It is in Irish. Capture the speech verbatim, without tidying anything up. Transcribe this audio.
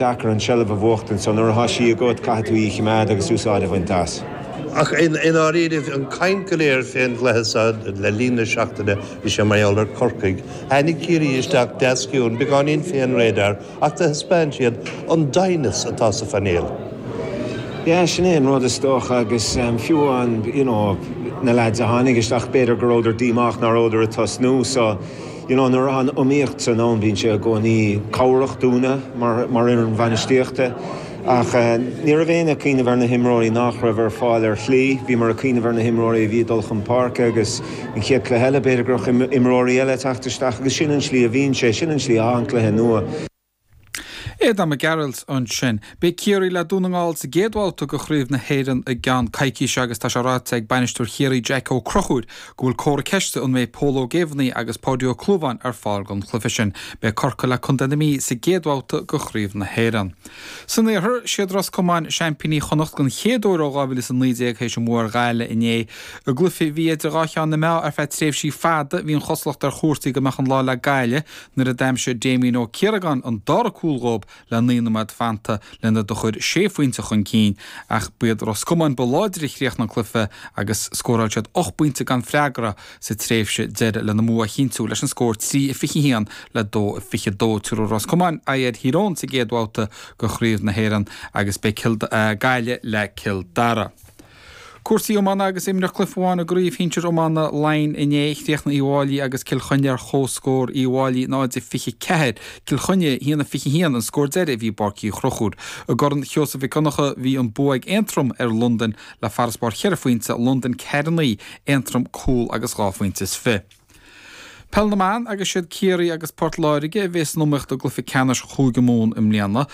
Deacair an tseilbh a bhuachtaint so nuair atá sí agat caithfidh tú í a choimeád agus úsáid a bhaint as. Ach in áiríomh an caint go léir fén gcluiche le linn na seachtaine bhí sé mar gheall ar Corcaigh. Tháinig Ciarraí isteach deas ciúin beagáinín fén radar ach do thaispeáin siad an doimhneas atá sa phainéal. Ja sin é an rud is dócha agus um, fiú an you know, na lads a tháinig isteach b'fhéidir go rabhadar díomách nach rabhadar ag tosnú so you know, nuair an iomaíocht san ann bíonn sé i gcónaí cabhrach dúinne mar, mar an bhainistíochta. Ach uh, ní raibh aon cuimhneamh ar na himreoirí nach raibh ar fáil ar shlí, bhí mar a cuimhneamh ar na himreoirí a bhí dul chun páirce agus an chéad chluiche eile b'fhéidir go raibh imreoirí eile teacht isteach agus sin an slí a bhíonn sé sin an slí an cluiche nua. Aodán Mac Gearailt ansin. Beidh Ciarraí le Dún na nGall sa gcéad bhabhta de Chraobh na hÉireann i gceann coicíse agus tá sé ráite ag bainisteoir Chiarraí Jack Ó Conchúir go bhfuil comhartha ceiste an mbeidh Pól Ó Géibheannaigh agus Páidí Ó Clúmháin ar fáil don chluiche sin. Beidh Corcaigh le Contae na Mí sa gcéad bhabhta de Chraobh na hÉireann. San iarthar siad Ros Comáin seaimpíní Chonnacht den chéad uair ó dhá mhíle is a naoi déag théis a mbua ar Ghaillimh inné. I gcluiche a bhí idir dhá cheann na meá ar feadh tréimhsí fada bhí an chosúlacht ar chúrsaí go mbeadh an lá le Gaillimh nuair a d'aimsigh Damien Ó Ciaragáin an dara cúl dóibh le naoi nóiméad fanta lena gcur sé phointe chun cinn ach b'iad Ros Comáin ba láidre a chríochnaigh an cluiche agus scóráil siad ocht bpointe gan freagra sa tréimhse deiridh lena mbua a chinntiú leis an scór trí a fiche haon le dó a fiche dó Tabharfaidh Ros Comáin aghaidh ar Thír Eoghain sa gcéad bhabhta de Chraobh na hÉireann agus beidh Gaillimh le Cill Dara. Cúrsaí iomána agus imríodh cluiche amháin i gcraobh shinsir iomána Laighean inné chríochnaigh Uíbh Fhailí agus Cill Chainnigh ar chomhscór Uíbh Fhailí náid a fiche ceathair, Cill Chainnigh haon a fiche haon an scór deiridh a bhí i bPáirc Uí Chonchúir. I gCorn Sheosaimh Mhic Donncha bhí an bua ag Aontroim ar Londain le farasbarr cheithre phointe Londain ceathair naoi Aontroim cúl agus dhá phointe is fiche. Peil na mban agus siad Ciarraí agus Port Láirge a bheas san iomaíocht i gcluiche ceannais Chúige Mumhan i mbliana.